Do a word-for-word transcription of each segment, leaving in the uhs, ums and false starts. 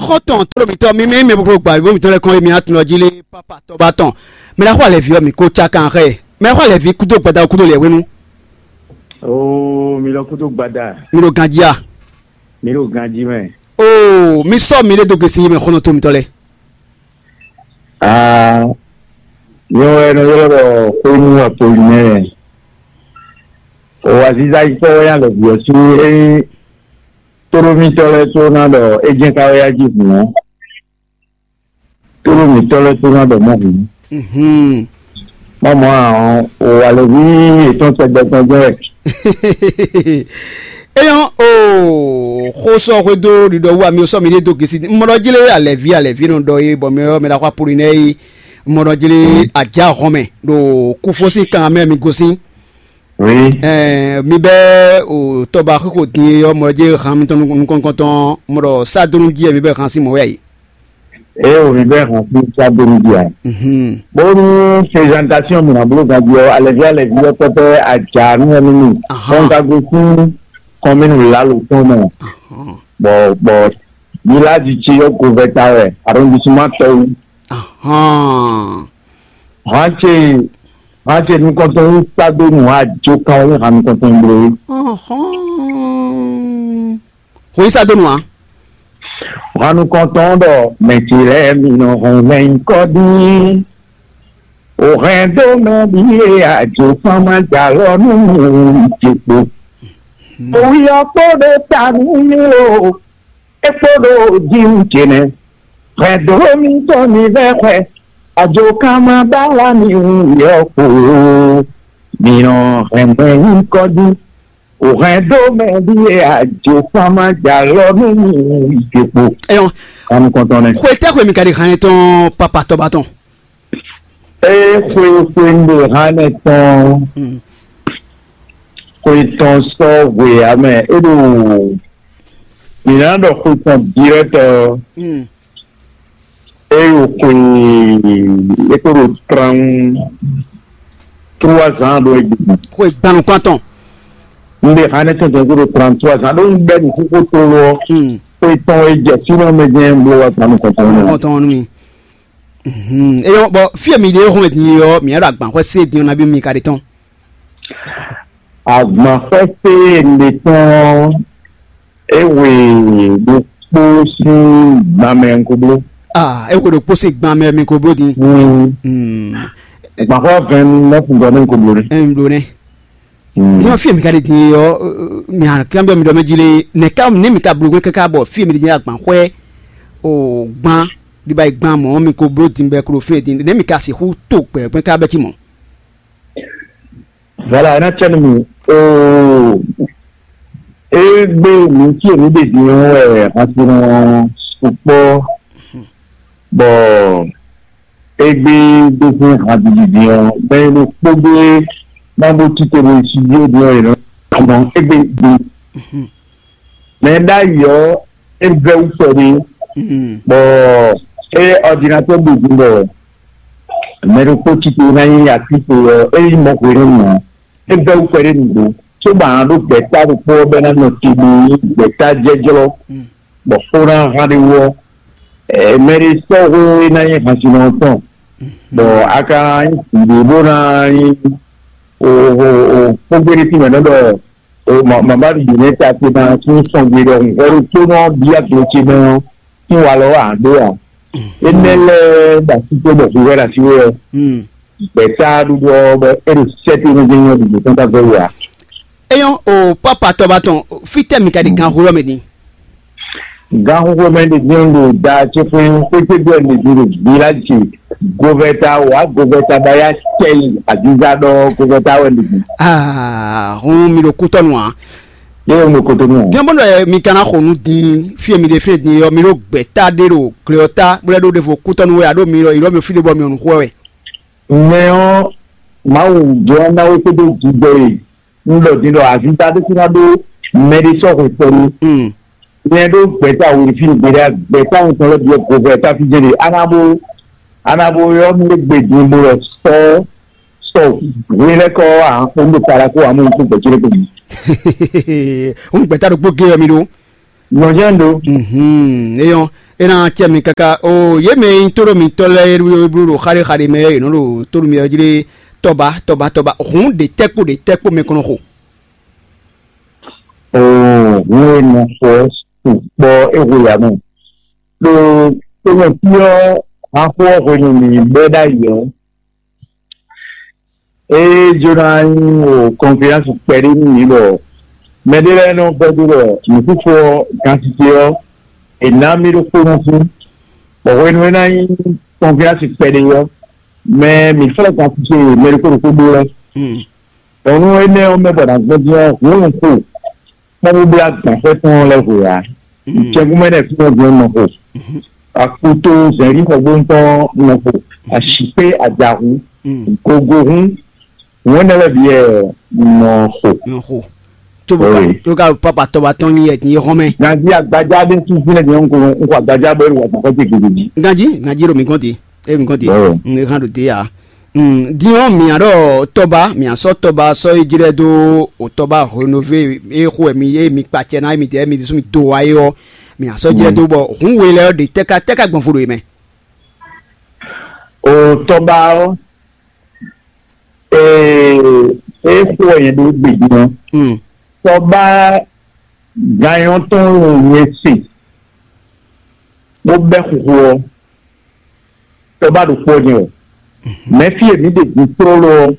Xɔ́ntɔn tlóló mǐtɔn, mi mɛ mɛ bó gba bó mǐtɔn lɛ́ kɔn, émi atúnɔ jí lé pápá tɔ́ bá tɔn. Mɛ ná xɔ alɛ̌ví ɔ́, mǐ kó cá kan xɛ. Mɛ ná xɔ alɛ̌ví kúdó gbada kúdó lɛ̌ hwenu. Oo, mi lɔ kúdó gbada. Mi ɖo ganjí a? Mi ɖo ganjí mɛ. Oo, mi sɔ́ mi ɖé dó gesi mɛ xɔ́ntɔn tlóló mǐtɔn lɛ́ɛ. Aa, nyɛ wɛ nɔ ylɔ́ ɖɔ xwénu Apolinɛ́ɛ. O aziza yi kpɔ́ wɛ nyí alɛ̌ví ɔ́ sín ényí tóɖómítɔ́ lɛ́ɛ tló ná ɖɔ é jɛ́n ka wɛ yá jí hǔn ɔ́, tóɖómítɔ́ lɛ́ɛ tló ná ɖɔ mɔ̌ hǔn. Mhm. Mɔmɔ ǎ ɔ́, o alɛ̌ví yětɔn tɛgbɛ tɔn jɛ́n wɛ. Éyɔ́ o xó sɔ́ xwedó ɖiɖɔ wú ami sɔ́ mi ɖé dó gesi. Un mɔ ɖɔ jlé alɛ̌ví alɛ̌ví nɔ ɖɔ é bɔ mɛ ɔ́ mɛ ɖaxó Apolinɛ́ɛ é. Un mɔ ɖɔ jlé ajá hɔn mɛ ɖo kúfó sín kan mɛ mi gosín. Oui. Ɛɛ, mi bɛ o tɔba xixo din e ɔ́, mɔ ɖɔ jlé han mitɔn nukɔn nukɔntɔn mɔ ɖɔ sádónú jí ɛ mi bɛ han sín mɔ̌ wɛ a yi. Eye wòmí bɛ hɔn fún sábẹ́ni jí a. Mhm. Bónú présentation mi nà bló ganjí ɔ́, alɛví alɛví ɔ́ pɛpɛ ajá nú ɛnu mi. Ahán. Kɔn ka gosín kɔmínu lalo tɔn mɛ. Ahán. Bɔ bɔ village ce yɔ govɛta wɛ, arrondissement tɔwu. Ahán. Hàn ce hàn ce nukɔntɔn wú sábẹ́ni wà jó kan wú hàn nukɔntɔn bló. Ahán. Xweyísadónú ǎ. Hannukɔntɔn ɖɔ mɛ ce lɛ́ɛ mi nɔ hɔn mɛ nyí kɔ dín. O hɛn dó mɛ ɖíe ajo kpán má jalɔ nú mi wú ce kpo. Owi ɔ́ kpo ɖo ta nú mi o, é kpo ɖo jí wú ce nɛ́. Hɛn dó mi tɔn mi vɛ́ xwɛ, ajo kán má bála mi wú yɔ kpo. Mi nɔ hɛn mɛ nyí kɔ dín. O hɛn dó mɛ ɖíe ajo kpán má jalɔ nú mi wú ce kpo. Eyɔn, Hannukɔntɔn nɛ́. Xwe tɛ́ xwe mi ka ɖi hannɛ tɔn papa tɔba tɔn? Ée xwe xwe un ɖe hannɛ tɔn, xwe tɔn sɔ́ hwe ǎ mɛ, é ɖo mǐ ná ɖɔ xwe tɔn dirɛ́tɔ, é ɖo xwe é ko ɖo trente trois ans ɖo é gbe. Xwe gbanukun atɔn. Un ɖe hannɛ tɔn tɔn ko ɖo trente trois ans ɖó un bɛ nǔ xóxó tlóló ɔ́, xwe tɔn e jɛ fínɛ́ mɛ jɛ́n bló wá gbanukɔntɔn nú mi. Kɔntɔn nú mi. Mhm. Eyɔn bɔ fí e mi ɖe hɔn din ɔ́, mi ɖo agbanxwɛ se din ɔ́ nabí mi ka ɖe tɔn? Agbanxwɛ se e un ɖe tɔn ɔ́, é hwe ɖokpó sín gban mɛ un ko bló. Ah, é hwe ɖokpó sín gban mɛ mi ko bló din. Mm. Mm. Agbanxwɛ vingt neuf gɔn mɛ un ko bló ɖe. Ɛ, un bló nɛ. Mm. Din ɔ́, fí e mi ka ɖe din ɔ́, mi hàn kanbyɔ́ mi ɖɔ mɛ jí lé, nɛ̌ ká nɛ̌ mi ka bló gbé káká bɔ fí e mi ɖe din agbanxwɛ o gbán ɖiba yi gbán mɔ̌ mi ko bló din bɔ ɛ klo fí e din nɛ̌ mi ka sixú to gbɛ̌gbɛ́ ká bɛ́ cí mɔ̌? Voilà, é ná cɛ nú mi. Oo, égbé mi fí e mi ɖe din ɔ́ wɛ hansinɔ sukpɔ́ bɔ égbé gbégbé han didi din ɔ́, mɛ e ɖo kpó gbé ná bó tito ɖo studio din ɔ́, è nɔ mɔ égbé din. Mɛ ɖ'ayǐ ɔ́, é vɛ́ wú kpɛɖé, bɔ é ɔdinatɔ́ ɖo din bɔ mɛ ɖokpó tito ná nyí atíto ɔ́, é nyí mɔ hwenu ǎ. É vɛ́ wú kpɛɖé nǔgbó, cóbɔ a nǎ ɖó gbɛ̌ta ɖokpó ɔ́ bɔ é ná nɔ te ɖo gbɛ̌ta jɛ́jlɔ́, bɔ xó ná hán ɖé wú ɔ́, mɛ ɖé sɔ́ hwé é ná nyí hansinɔ ɔ́ tɔn, bɔ a ka nyí vǐ ɖé bó ná nyí xógbéɖésímɛ̌nɔ ɖɔ mama ɖi nɛ́ ta ce ná sín sɔ́ gbe ɖɔhun hwɛ ɖokpónɔ ɔ́ bíyá glo ce mɛ ɔ́ sín walɔ wɛ a ɖó a? Énɛ́ lɛ́ɛ ɖo así tó bɔ hwíhwɛ́ ɖo así wɛ ɔ́, gbɛ̌ta ɖuɖu ɔ́ bɔ é ɖo sɛ́ tó nú gbɛ́nyɛ́ ɖuɖu tɔn ká vɛ́ wú ǎ. Eyɔn o papa tɔba tɔn, fítɛ́ mi ka ɖi gan xó lɔ mɛ din? Gan xó mɛ ɖe din ɖo da ce fún xwétégbe ɔ́ ɖe din ɖo village govɛta wa govɛta baya cɛyi aziza ɖɔ govɛta wɛ ɖe din. Aa, hun mi ɖo kútɔnu a? Yɛ mi ɖo kútɔnu a? Diɛ bɔn ɖɔ mi kana xɔ nu din fie mi ɖe fie din yɔ mi ɖo gbɛta ɖe ɖo glɛ ɔ́ ta bó lɛ ɖo ɖevo kútɔnu wɛ aɖo mi ɖɔ yi ɖɔ mi fi ɖe bɔ mi ɔnu xɔ wɛ. Mɛ ɔ́, Mawu jɔ ná wé kpódó jijɛ e un ɖɔ din ɖɔ azinta ɖésú ná ɖó mɛ ɖé sɔ́ hwe kpɔ́ ní. Nyɛ ɖó gbɛ̌ta wǔ fí gbeɖé gbɛ̌ta ŋutɔn lɛ́ byɔ́ govɛ táfíjɛ́n ɖe á ná bó á ná bó ylɔ́ nú égbé din bó lɔ sɔ́ sɔ hwe lɛ́ kɔ ǎ kpó ɖo para kó amú kó gbɛ̌ cé ɖé kó mi. Ń gbɛ̌ta ɖokpó gé ɔ mi ɖó. Nyɔ̌jɛ́n ɖó. Mhm, eyɔn. É ná acɛ mi káká o. Yě mɛ e nyí tóɖó mitɔ́ lɛ́ɛ e ɖo bló ɖo xaɖéxaɖé mɛ ɔ́, yě nɔ ɖo tóɖó mi ɔ́ jlé tɔba tɔba tɔba. Hǔn ɖě tɛ́ kpó ɖě tɛ́ kpó mɛ kɔn nɔ xo. Oo, hǔn e nɔ xo ɔ́ sukpɔ́ é hwe ya mɛ. Ɖo tomɛfí ɔ́, axó ɔ́ hwenu mǐ bɛ́ ɖ'ayǐ ɔ́, ée jló ná nyí o kɔnfidánsi kpɛɖé nú mǐ bɔ mɛɖé lɛ́ɛ nɔ vɛ́ dó ɖɔ nǔxixo ɔ́, gansite ɔ́, è nǎ mì ɖokpónɔ fún, bɔ hwenu e ná nyí kɔnfidánsi kpɛɖé ɔ́, mɛ mǐ xlɛ́ gansite e mɛ ɖokpó ɖokpó ɖó lɛ́ɛ. Nyɔ̌nu énɛ́ ɔ́ mɛ bɔ nǎ gbɔn dín ɔ́, hǔn un xo kpɔ́n bó blá gbǎnfɛ́ tɔn lɛ́ɛ hwe ǎ. Jɛkúmɛ ɖɛ fínɛ́ gbɔn nɔ xo. Akuto zɛ̌nlín xɔgbónu tɔn nɔ xo. Ashǐkpé ajahu. Gogo hún. Hǔn énɛ́ lɛ́ɛ bǐ wɛ nɔ xo. Nɔ xo. Tso bó ka Oui. Bó ka papa tɔba tɔn nyi yɛ tin yé xɔn mɛ. Ganjí agbadza ɖé tún fínɛ́ din ɔ́, un ko un xɔ agbadza bɔ é ɖo wǎ gbɔn xɔ ce gěgé jí. Ganjí, ganjí ɖo mi gɔ́n te. É mi gɔ́n te. Bɔ́. Un e hán ɖo te ya. Din ɔ́, mǐ nǎ ɖɔ tɔba, mǐ nǎ sɔ́ tɔba sɔ́ yi jlɛ́ dó o tɔba hwenu e xo wɛ mi e mi kpa acɛ ná e mi dɛ mi ɖésú mi do wá é ɔ́, mǐ nǎ sɔ́ jlɛ́ dó bɔ hǔn we lɛ́ɛ ɔ́ ɖe tɛ́ ká tɛ́ ká gbɔn fo ɖo yě mɛ. O tɔba ɔ́, ee, é xo wɛ nyɛ ɖó gbědín ɔ́. Tɔba ganyɔ tɔn nyɛ se bó bɛ́ xuxu ɔ́, tɔba ɖokpó ɔ́ nyɛ wɛ. Mɛ̌ fí e mǐ ɖe din tlóló ɔ́,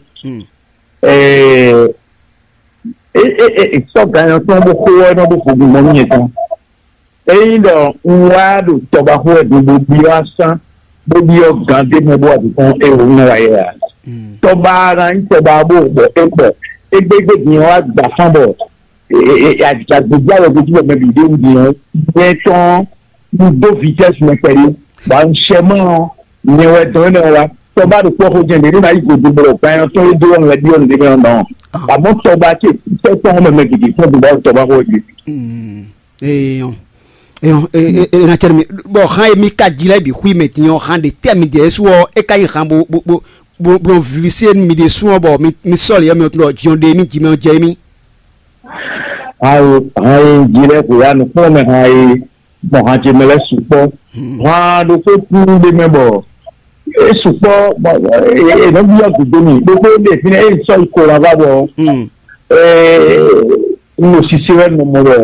ɛɛ, é é é é sɔ́ ganyɔ tɔn bó xo ɔ́ nɔ ɖó vodún gbɔn nú nyɛ tɔn. Ényí ɖɔ un wá ɖo tɔbaxó wɛ din bó byɔ́ asán, bó byɔ́ gǎn ɖé mɛ bó wá ɖu kɔn é wǒ nɔ wá yɛ ǎ. Tɔba ná nyí tɔba bó bɔ é bɔ égbégbé din ɔ́ wá gbǎ fán bɔ agbègbè alɔ gbèsè bɔ mɛ bǐ ɖé wú din ɔ́, nyɛ tɔn un dó vitɛ́si mɛ kpɛɖé, bɔ un sɛ mɔ ɔ́, nyɛ wɛ dɔn énɛ́ wá. Tɔba ɖo kpɔ́ xó jɛ́n ɖě ní ma yí gǒdo bɔ ganyɔ tɔn e dó ɔ́ lɛ́ byɔ́ nǔɖé mɛ ɔ́ nɔ. Àmọ́ tɔba ce tɛ́ tɔn mɛ mɛ gěgé tɔn dó bá tɔba xó jí. Eyɔn, eyɔn, e e e na cɛ mi bɔ han e mi ka ji lɛ bi xui mɛ din ɔ́, han ɖe tɛ mi dɛ su ɔ́, e ka yi han bo bo bo bo bo vivise mi ɖe su ɔ́, bɔ mi mi sɔli yɛ mi ɔtun ɖɔ jiɔn ɖe mi ji mɛ ɔ́ jɛ mi. Han e han e ji lɛ xwe ya nukpɔn mɛ han e gbɔn han ce mɛ lɛ sukpɔ. Han ɖokpó kú ɖe mɛ bɔ e sukpɔ bɔ e nɔ bi yɔ gudo mi ɖokpó ɖe fi nɛ e sɔ yi ko la va bɔ e n ɖo sise wɛ nɔ mɔ bɔ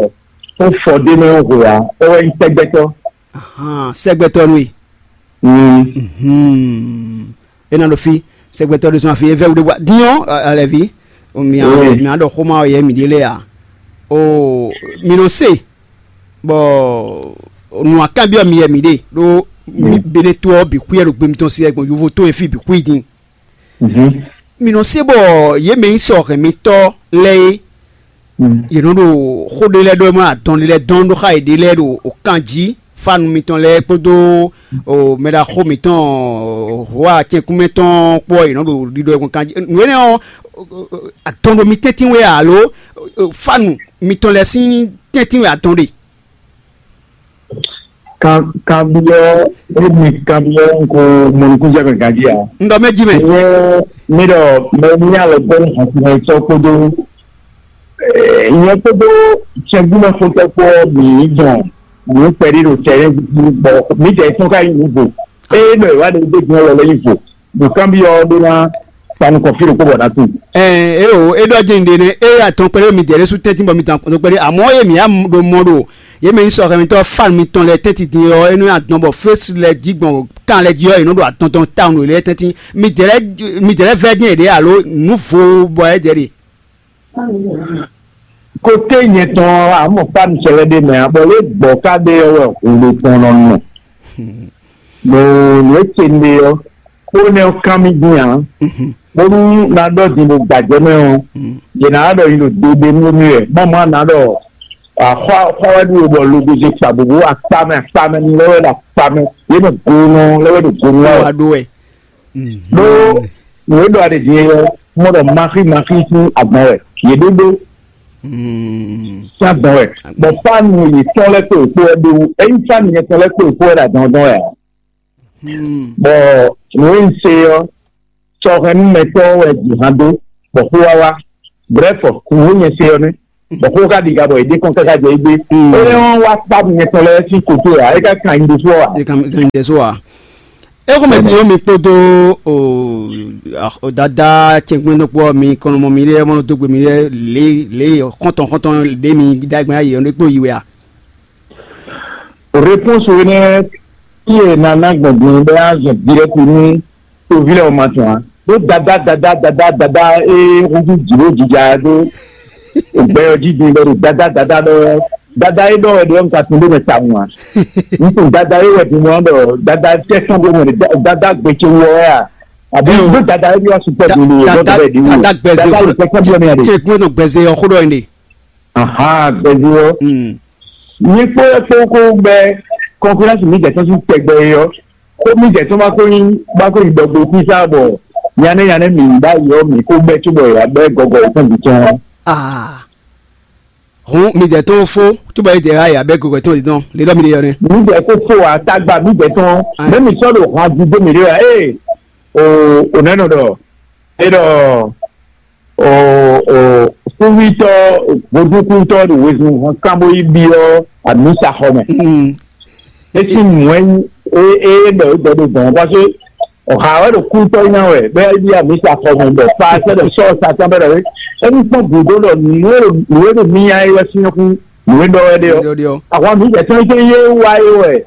ó fɔ ɖ'é mɛ ó hwe ǎ, é wɛ nyí sɛ́gbɛ́tɔ́. Ahan, sɛ́gbɛ́tɔ́ nú we. Mm. Mhm. É ná ɖo fí, sɛ́gbɛ́tɔ́ ɖésú afi é vɛ́ wú ɖé bɔ dín ɔ́, alɛ̌ví, mi Oui. Mi á ɖɔ xóma ɔ́ yɛ mǐ ɖe lɛ́ɛ ǎ. O mi nɔ se, bɔ nǔ akanbyɔ́ mi yɛ mǐ ɖe ɖó mi Mm. Beneto ɔ́ bǐ xwíyɛ ɖo gbe mitɔn sí wɛ gbɔn yovo tó e fí bǐ xwí din. Mhm. Mi nɔ se bɔ yě mɛ nyí sɔ hɛn mitɔ́ lɛ́ɛ é. Mm. Yě nɔ ɖo xó ɖé lɛ́ɛ ɖɔ mɔ adɔn ɖé lɛ́ɛ dɔn ɖó xá yěɖée lɛ́ɛ ɖo kan jí, fánu mitɔn lɛ́ɛ kpódó o mɛɖaxó mitɔn hoa cɛnkúnmɛ tɔn kpó ɔ́, yě nɔ ɖo ɖiɖɔ yɛkun kan jí. Nǔ énɛ́ ɔ́, adɔn ɖo mi tɛ́ntin wɛ alo fánu mitɔn lɛ́ɛ sín tɛ́ntin wɛ adɔn ɖe? Kan kanbyɔ́ émi kanbyɔ́ ń ko mɔ nukúnjɛ mɛ ganjí ǎ. Un ɖɔ mɛ jí mɛ. Nyɛ mi ɖɔ mɛ ní alɔ gbɔ ní hɔnkunmɛ sɔ kpódó nyɛ kpódó cɛgbúmɛ xótɔ kpó mǐ dɔn nǔ kpɛɖé ɖo tɛlɛ bɔ mǐ jɛ tɔn ka nyí nǔ vo. Eye ɖɔ ìwádìí gbé gbɔn lɔ lɛ nyí vo. Ɖo kanbyɔ́ ɔ́ ɖó ná kpa nukɔn fí ɖokpó bɔ ná tunwun. Ɛɛ, é o, é ɖɔ jɛ́n ɖe nɛ́, é atɔn kpɛɖé mi dɛ̌ ɖésú tɛ́ntin bɔ mi dɔn atɔn kpɛɖé, amɔ̌ é mǐ ɖo mɔ ɖo yě mɛ nyí sɔxɛmítɔ́ fan mitɔn lɛ́ɛ tɛ́ntin din ɔ́, é nɔ nyi adɔn bɔ fésú lɛ́ɛ jí gbɔn kan lɛ́ɛ jí ɔ́, è nɔ ɖo adɔn tɔn tawun ɖo yě lɛ́ɛ tɛ́ntin. Mi dɛ̌ lɛ́ɛ mi dɛ̌ lɛ́ɛ vɛ́ jɛ́n yě ɖě alo nǔ vo bɔ é dɛ̌ ɖe. Kote nyɛ tɔn ɔ́, amɔ fan sɛlɛ ɖé mɛ ǎ, bɔ lě gbɔ̌ ka ɖe ɔ́ wɛ hun ɖo tɔn nɔ nɔ. Ɖo nǔ e ce un ɖe ɔ́, xó énɛ́ ɔ́ kán mì dín ǎ. Bónú ná ɖɔ din ɖo gbǎjɛ mɛ ɔ́, yě ná ɖɔ nyi ɖo dodenu émí wɛ. Mɔ̌ mɔ̌ ná ɖɔ xɔ xɔ wɛ ɖu bɔ logoze kpa bǒbó akpa mɛ akpa mɛ ni lɛ́ wɛ ɖo akpa mɛ, yě mɛ gonɔ lɛ́ wɛ ɖo gonɔ wɛ. Wá ɖó wɛ. Ɖó nǔ e ɖɔ aɖe din é ɔ́, mɔ ɖɔ maxí maxí sín agban wɛ yě ɖó ɖó. Sín agban wɛ. Bɔ fánu yětɔn lɛ́ kpó yě kpó wɛ ɖó wú. Ényí fánu yětɔn lɛ́ kpó yě kpó wɛ ɖo adɔn dɔn wɛ ǎ. Bɔ nǔ e un se ɔ́, sɔhɛnúmɛtɔ́ wɛ jǐ hán dó, bɔ xó wá wá. Brɛ́fɔ, nǔ e nyɛ se ɔ́ nɛ́. Bɔ xó ka ɖiga bɔ è ɖe kɔn káká jɛ égbé. Énɛ́ ɔ́ wá kpá nyɛ tɔn lɛ́ɛ sín kotó ǎ, é ka kan nyi ɖésú ɔ́ ǎ. È kan kan ɖésú ǎ. É xɔmɛ din ɔ́, mi kpódó o, o dada cɛnkpɛ́nnɔkpó ɔ́, mi kɔn nɔ mɔ miɖée, mɔ nɔ dó gbe miɖée lě lě xɔ́ntɔn xɔ́ntɔn ɖě mi ɖó agbɛ́n ayǐ ɔ́, é kpó yi wɛ a? Réponse énɛ́, qui est nana gbɔn din bɛ azɔ direct nú toví lɛ ma tɔn a? Ɖó dada dada dada dada e húzú jǐ ɖó jija ɖó ògbɛ ɔ́ jí din bɛ ɖo dada dada ɖɔ dada e ɖɔ wɛ ɖe ɔ́, un ka tunwun ɖó mɛ tawun a? Un tunwun dada e wɛ din ɔ́ ɖɔ dada tɛ́ sɔn ɖó mɛ dada gbece wɔ wɛ a? Àbí ɖó dada e ɖɔ sukpɔ din ɖo yɛ ɖɔ bɛ ɖi wú dada gbɛzɛ dada xó ɖo tɛ́ sɔn ɖó mɛ a ɖe? Tɛ gbɔn gbɛzɛ ɔ́ xó ɖɔ ɛ ɖe. Aha, gbɛzɛ ɔ́. Nyɛ kpó kpó kó gbɛ kɔnfidɛnsi mi jɛ tɔn sín tɛgbɛ é ɔ́, xó mi jɛ tɔn ma ko nyí ma ko nyí dɔgbo xwísá bɔ nyanɛ nyanɛ mi ɖ'ayǐ ɔ́ mi kó gbɛ cóbɔ yě wá gbɛ gɔgɔ yě tɔn bǐ tɔn. Ah. Hǔn mi jɛ tɔn fó cóbɔ yě jɛ wá yě wá gbɛ gɔgɔ yě tɔn bǐ tɔn lě ɖɔ mi ɖe yɔ nɛ. Mi jɛ kó fó wá tagba mi jɛ tɔn mɛ mi sɔ́ ɖo hɔn ajú dó mi ɖé wá ee o o nɛ́ nɔ ɖɔ é ɖɔ o o kúvítɔ́ vodúnkúntɔ́ ɖo wezun hɔn kán bó yi byɔ́ amǐsaxɔ mɛ. É sín nǔ wɛ nyí é é ɖɔ é gbɔ ɖo gbɔn parce que ọ̀hà wɛ ɖo kúntɔ́ nya wɛ bɛ é byɔ́ amǐsaxɔ mɛ bɔ pa sɛ ɖɔ sɔ́ Satan bɛ ɖɔ é é ní kpɔ́n gǔdo ɖɔ nǔ e ɖo nǔ e ɖo mí nya é wɛ sín xú nǔ e ɖɔ wɛ ɖe ɔ́. Ahwan mǐ jɛ tɔn é yé wá é wɛ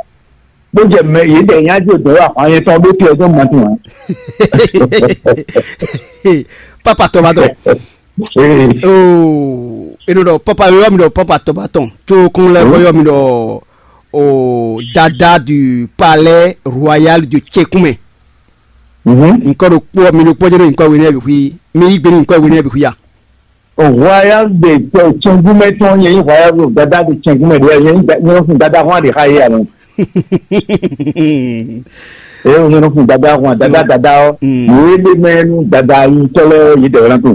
bó jɛ mɛ yě ɖɛ nya jɛ dɔ̌ wɛ ahwan nyɛ tɔn ɖó te ɔ́ dɔn mɔtún ǎ. Papa tɔbatɔ. Oh, e ɖo ɖɔ papa yɔ mi ɖɔ papa tɔbatɔ tso kún lɛ kɔ yɔ mi ɖɔ o dada du palais royal du tsekunmɛ. Nkɔ ɖo kpɔ mi ɖo kpɔjɛ ɖo nkɔ wene bi hui mi yi gbe ni nkɔ wene bi hui ya. Royal de tɛ tsɛngúmɛ tɔn yɛ nyí royal of dada de tsɛngúmɛ de yɛ nyí nyɛ fún dada hɔn de xa yɛ alɔ. Eye wònye nɔ fún dada hɔn dada dada ɔ yìí lé mɛ nú dada yi tɔlɛ yìí dɛ wɛlɛ tó.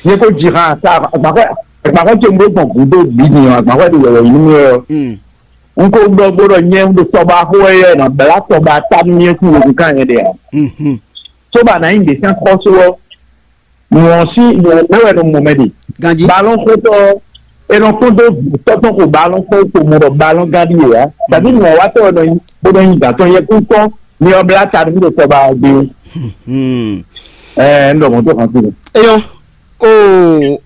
Nye ko dzi hã sa agbaxɔ agbaxɔ tse ŋgbe gbɔn gudo bi ni ɔ agbaxɔ de yɛlɛ yi nú ɔ. N ko ɖɔ gbɔ ɖɔ nyɛ un ɖo tɔba xo ɛ yɛ nɔ bla tɔba ta nú nyɛ kú wo kan yɛ de a. Tɔba na nyi de sɛn xɔso ɔ. Nɔ sí nɔ mɛ wɛ nɔ mɔ mɛ ɖe. Ganji. Balɔn xotɔ e nɔ kpɔn dó tɔtɔn ko balɔn kpɔn ko mɔ ɖɔ balɔn gán ɖi yɛ ya. Tàbí nɔ wa tɔ nɔ nyi bó nɔ nyi gàtɔ yɛ kú tɔn ni ɔ bla ta ní ɖo tɔba gbé. Ɛɛ n dɔ mɔ tó kan sí. Eyɔn o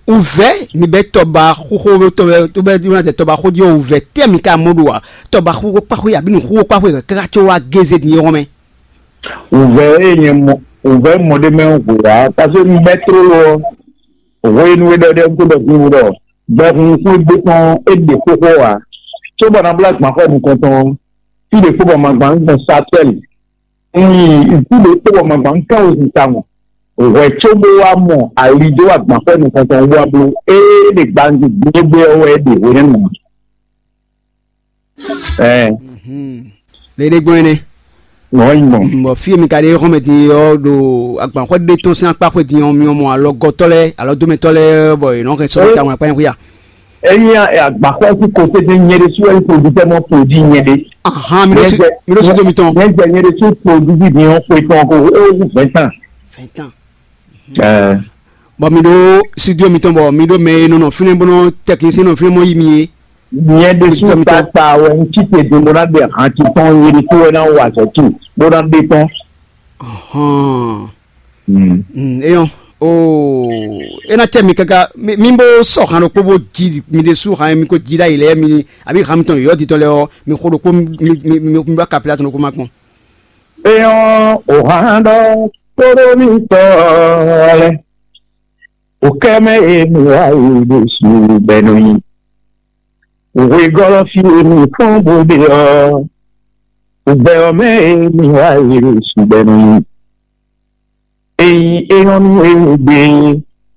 uvɛ mi bɛ tɔba xoxo tɔbɛ tɔbɛ tɔbɛ tɔba xodzi o uvɛ tɛ mi ka mɔ ɖo wa tɔba xoxo kpaxo yabi nu xoxo kpaxo yɛ kaka tso wa geze din yɛ wɔmɛ. Uvɛ eye nyɛ mɔ uvɛ mɔ ɖé mɛ hu wá parce que un bɛ tló lo ɔ hwenu e ɖɔ ɖe un ko ɖɔ hu ɖɔ bɛ hun kú gbé tɔn é ɖe xóxó wá. Tso bɔ na blá gbɔn xɔ nukɔn tɔn fí ɖe kpó bɔ ma gbɔn gbɔn satɛl un yi fí ɖe kpó bɔ ma gbɔn kán o sin ta mɔ hwɛ tso bó wá mɔ ali dó wá gbɔn xɔ nukɔn tɔn wá bló é ɖe gbangbe gbé ɔ́ wɛ é ɖe hwenɛ́nu. Ɛɛ. Lě ɖé gbɔn énɛ́. Wọ́n yí mɔ. Bɔ fí e mi ka ɖe xɔmɛ din ɔ́ ɖo agbanxwɛ ɖé tɔn sín akpá xwé din ɔ́, mi mɔ alɔgɔtɔ́ lɛ́ɛ alɔdómɛtɔ́ lɛ́ɛ bɔ yě nɔ hɛn sɔ́ ta wọn akpá nyɛ xwé a? Eyi agbaxɔ sí kote de nyɛ ɖe su ɛyi produit tɛ mɔ produit nyɛ ɖe. Ahan mi ɖo si mi ɖo si do mi tɔn. Nyɛ jɛ nyɛ ɖe su produit bi mi ɔ xwe tɔn ko o wu vingt ans. Vingt ans. Ɛɛ. Bɔ mi ɖo studio mitɔn bɔ mi ɖo mɛ e nɔ nɔ fínɛ́ bó nɔ technicien nɔ fínɛ́ mɔ yi mi é. Nyɛ ɖésú tata wɛ un cí te din bó ná ɖe ahan titɔn nyɛ ɖésú wɛ ná wa azɔ̌ tu bó ná ɖe tɔn. Hɔn. Eyɔn o e ná tɛ mi káká mi bó sɔ han ɖokpó bó jí mi ɖésú han mi ko jí ɖ'ayǐ lɛ́ɛ mi àbí han mitɔn yɔ̌yɔ́ titɔn lɛ́ɛ ɔ́ mi xo ɖokpó mi mi mi mi bá kapila tɔn ɖokpó má kpɔn. Eyɔn o han ɖɔ tóɖó mi tɔ lɛ. Ukɛmɛ emi wa yi ɖo su bɛnu yi. Hwegɔ́lɔ́ fí emi fɔ́n bó ɖe ɔ́, ugbɛ ɔ́ mɛ emi wa yi ɖo su bɛnu yi. Eyi eyɔ́nú ewu gbe,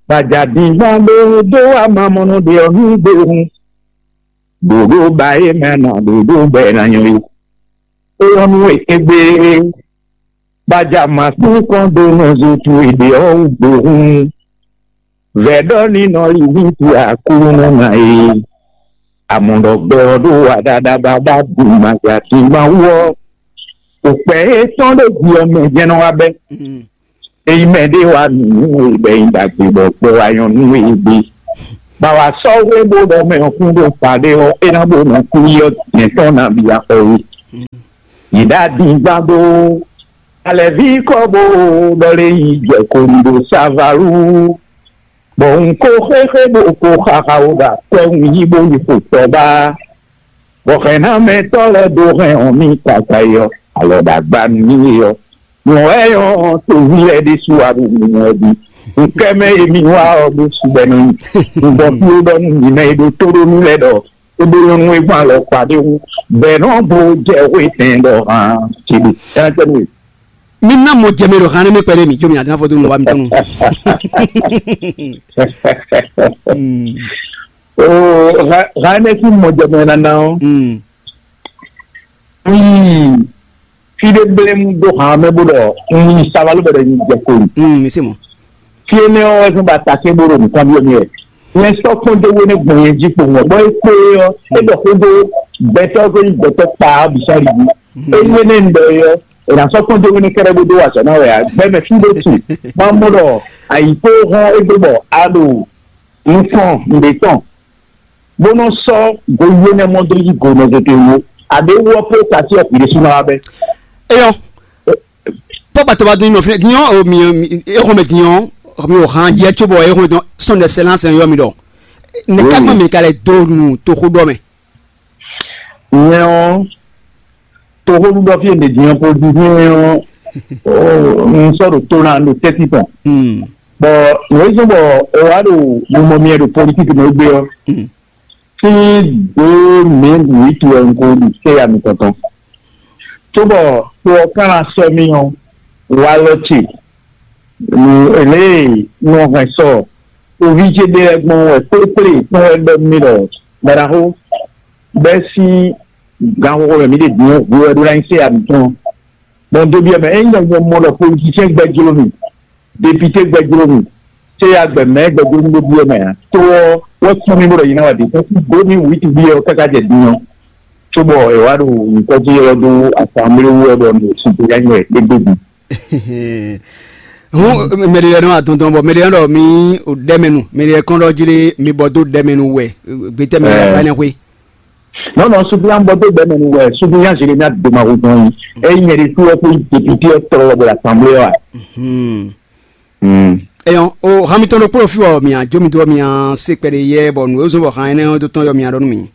gbajadígbá ɖé dó wá mamɔnɔ ɖe ɔ́ nú gbe hun. Ɖoɖó ba e mɛ na ɖoɖó bɛ na nyɔ yi. Eyɔ́nú egbe, gbaja ma sín kɔn dó nɔ zo tu e ɖe ɔ́ wú gbe hun. Vɛ̌ ɖɔ ní nɔ yi ní tu Aklúnɔ ná é. Amɔ̌ɖɔgbɛ ɔ́ ɖo wa ɖaɖa bábá ɖu màgbà dín Mawu ɔ́. Òkpɛ étɔn ɖo ji ɔ́ mɛ jɛ́n nɔ wá bɛ́. Ényí mɛ ɖé wá nǔ nú we bɔ é nyí ɖagbe bɔ gbɛ wá nyɔ́ nú we gbé. Bɔ wǎ sɔ́ hwe bó ɖɔ mɛ ɔ́ kún ɖo kpaɖé ɔ́, é ná bó nɔ kú yi ɔ́, jɛ̌n tɔn ná bia xɔ we. Yě ɖo adingban dó alɛ̌ví kɔ bó ɖɔ lé yi jɛ ko ɖo Savalú. Bɔ un ko xéxé bó ko xaxa wo ɖo akwɛ́ un yí bó yi xo tɔba. Bɔ hɛ̌nnamɛtɔ́ lɛ́ɛ dó hɛn ɔ́ mì káká é ɔ́, alɔ ɖagba nú mì é ɔ́, nǔ wɛ nyɔ́ toví lɛ́ɛ ɖésú wá ɖo nǔ wɛ ɖi. Un kɛ mɛ e mi wá ɔ́ ɖó sugbɛ́ nú mì. Un gbɔ fí ó ɖɔ nú mǐ mɛ e ɖo tóɖónú lɛ́ɛ ɖɔ é ɖó nyɔ́nú e gbɔn alɔ kpa ɖé wú, bɔ è nɔ bo jɛ xwé tɛn ɖɔ hǎn céɖé. Ɛnɛtɛ́nu e. Mi ná mɔ jɛ mɛ ɖo hǎn nɛ́ mɛ kpɛɖé mǐ, có mi ná fɔ dó nǔ wa mitɔn nu. Oo, hǎn nɛ́ sín mɔ jɛ mɛ nana ɔ́. Fí ɖé blé mú dó han mɛ bó ɖɔ un yi Savalú bɔ ɖɔ nyi jɛ ko yi. Mm, mi se mɔ. Fí énɛ́ ɔ́ wɛ zɔ́n ba takín bó ɖo nǔkanbyɔ́ mi wɛ. Nyɛ sɔ́ kpɔ́n dó wé nɛ́ gbɔn nyɛ jí kpowun ɔ́, bɔ é kpé ɔ́, é ɖɔ xó dó gbɛtɔ́, xó nyi gbɛtɔ́ kpaa bǐ sɔ́ yi jí. É wé nɛ́ un ɖɔ é ɔ́, è nǎ sɔ́ kpɔ́n dó wé nɛ́ kɛ́ɖɛ́ bó dó wa azɔ̌ ná wɛ ǎ. Gbɛmɛ fí ɖé tu, má mɔ ɖɔ ayǐ kó hɔn égbé bɔ a ɖo nukɔn nǔɖé tɔn. Bó nɔ́ sɔ́ goyíyé nɛ́ mɔ dó yí go nɔ tete wú. Aɖé wú ɔ́ pé kasi ɔ́, hwi ɖésú ná wá bɛ́. Eyɔ, pɔ́ gbatɔba dó nyinɔ fínɛ́ din ɔ́, mi exɔmɛ din ɔ́, mi o han jɛ cóbɔ exɔmɛ din ɔ́, sɔn ɖɛ sɛlán sɛn yɔ mi ɖɔ. Nɛ̌ ká gbɔn mi ka lɛ dó nu toxóɖɔ mɛ? Nyɛ ɔ́, toxóɖuɖɔ fí e mǐ din ɔ́, politisiyɛn ɔ́, un sɔ́ ɖo tó ná ɖo tɛ́ntin tɔn. Bɔ nǔ e zɔ́n bɔ è wá ɖo mimɔ myɛ ɖo politiki mɛ gbé ɔ́, sín dó mǐ wǐtu wɛ un ko ɖu séya mitɔn tɔn. Cóbɔ to ɔ́ ka ná sɔ́ mì ɔ́, walɔ ce, nǔ lě e un nɔ hɛn sɔ oví ce ɖe lɛ́ɛ gbɔn wɛ kplékplé tɔn wɛ ɖɔ nú mì ɖɔ: "Gbadaxó, bɛ́ sín ganxixo mɛ mǐ ɖe din ɔ́, hwe wɛ ɖó ná nyí séya mǐtɔn." Bɔ un dó byɔ́ mɛ, ényí nyɛ mɔ ɖɔ politisiyɛn gbɛjló mì, depité gbɛjló mì, séya gbɛ mɛ̌ gbɛjló mì ɖó byɔ́ mɛ ǎ. Tó ɔ́ wɛ kpɔ́n mì bó ɖɔ yi ná wa ɖě kpɔ́n dó mì wǔ yi tibí ɔ́ káká jɛ din ɔ́, cóbɔ è wá ɖo nyǐkɔ jí ylɔ́ dó asanblé wú wɛ ɖɔ nǔ sixú yá nyi wɛ égbé din. Hǔn mɛɖé lɛ́ɛ nɔ atɔntɔn bɔ mɛɖé lɛ́ɛ ɖɔ mi ɖɛmɛnu, mɛɖé lɛ́ɛ kɔn ɖɔ jí ɖé mi bɔ dó ɖɛmɛnu wɛ gbɛtɛ mi ba nɛ xwé. Non, non, suppléant bɔ dó gbɛmɛ nu wɛ suppléant Jérémie Domahu tɔn yi. Eyi nyɛ ɖe tu wɛ kó député ɔ́ tɔlɔ bɔ l'assemblée ɔ́ a. Eyɔn o hami tɔn ɖokpó ɖo fí wɔ mia jó mi dó mia se kpɛɖe yɛ bɔ nǔ e zɔn bɔ han énɛ́ ɔ́ dó tɔn yɔ mia ɖɔ nú mi.